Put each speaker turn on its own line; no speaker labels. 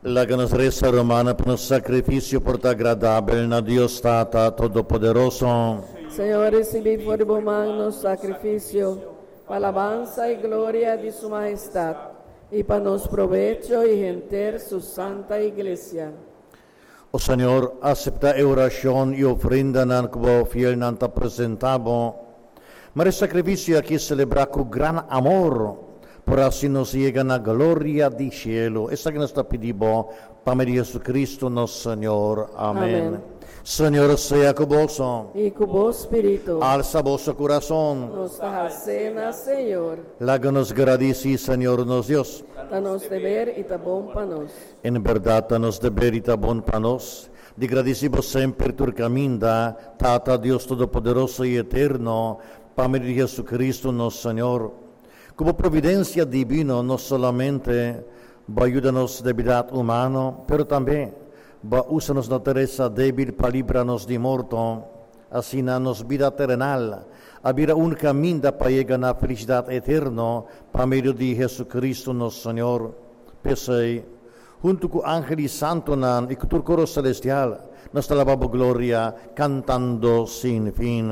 Laga nos resa, rumannan, pa nos sakrifisio por ta agradabel na Dios Tata Todopoderoso.
Señor, risibí for di bo man nos sakrifisio, pa alabansa i gloria di Su Mahestat, i pa nos probecho i henter Su Santa Iglesia.
O Señor, aseptá e orashon i ofrendanan ku bo fielnan ta presentá bo. Mara e sakrifisio akí selebrá ku gran amor, por hasi nos yega na gloria di shelu. Esaki nos ta pidi bo pa medio di Jesucristo nos Señor. Amén.
Amén.
Señor sea ku boso.
I ku bo spiritu.
Alsa boso kurason.
Nos ta hals'é na Señor.
Laga nos gradisí Señor nos Dios.
Ta nos deber i ta bon pa nos.
En bèrdat ta nos deber i ta bon pa nos di gradisí bo semper tur kaminda, Tata Dios Todopoderoso i Eterno, pa medio di Jesucristo nos Señor. Ku bo providensia dibino no solamente bo a yuda nos debilidat humano, pero tambe bo a usa nos naturesa débil pa libra nos di morto. Asina nos bida terenal a bira un kaminda pa yega na felisidat eterno pa medio di Jesucristo nos Señor. P'esei, huntu ku angel i santunan i ku tur koro selestial, nos ta laba bo gloria kantando sin fin.